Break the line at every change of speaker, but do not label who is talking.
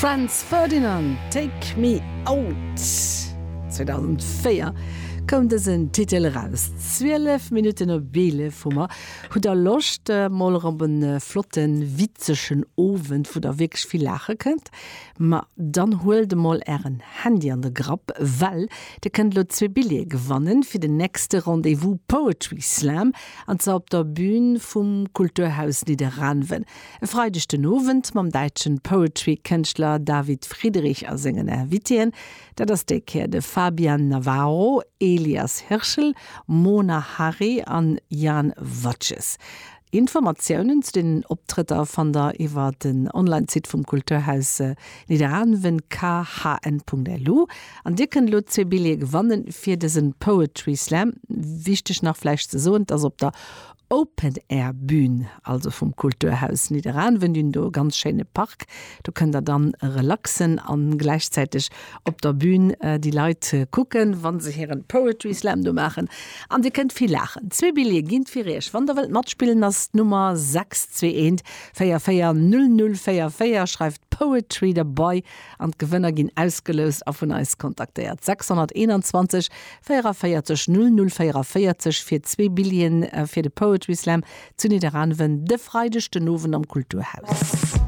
Franz Ferdinand, Take Me Out. 2004 koum dësen Titel eraus. 12 Minutten op 11 hu mer. Hutt der Loscht mol erëm op en flotten, witzegen Owend, wou der wierklech vill laache kënnt? Ma dann huelt emol ären Handy an de Grapp, well dir kënnt elo zwee Billjeeë gewannen fir den nächste Rendez-vous Poetry Slam, an zwar op der Bühn vum Kulturhaus Nidderaanwen. E Freideg den Owend mam däitschen Poetry-Kënschtler David Friedrich a sengen Invitéen. Dat ass déi Kéier de Fabian Navarro, Elias Hirschel, Mona Harry an Jan Watjes. Informatiounen zu deenen Optrëtter fannt der iwwer den Online-Site vum Kulturhaus Nidderaanwen, khn.lu. An dir kënnt elo zwee Billjeeë gewannen fir dësen Poetry Slam. Wichteg nach vläicht ze soen, 't ass op der Open-Air Bühn, also vum Kulturhaus Nidderaanwen. Déi hunn do e ganz schéine Park, do kënnt der dann relaxen an gläichzäiteg op der Bühn déi Leit kucken, wann se hiren Poetry Slam do maachen. An dir kënnt vill laachen. Zwee Billjeeë ginn fir iech. Wann der wëllt matspillen ass d'Nummer 6 2 1 4 4 0 0 4 4. Schreift Poetry derbei an d'Gewënner ginn ausgeloust a vun eis kontaktéiert. 621 44 00 44 fir zwee Billjeeën fir de Poetry Slam zu Nidderaanwen de Freideg den Owend am Kulturhaus.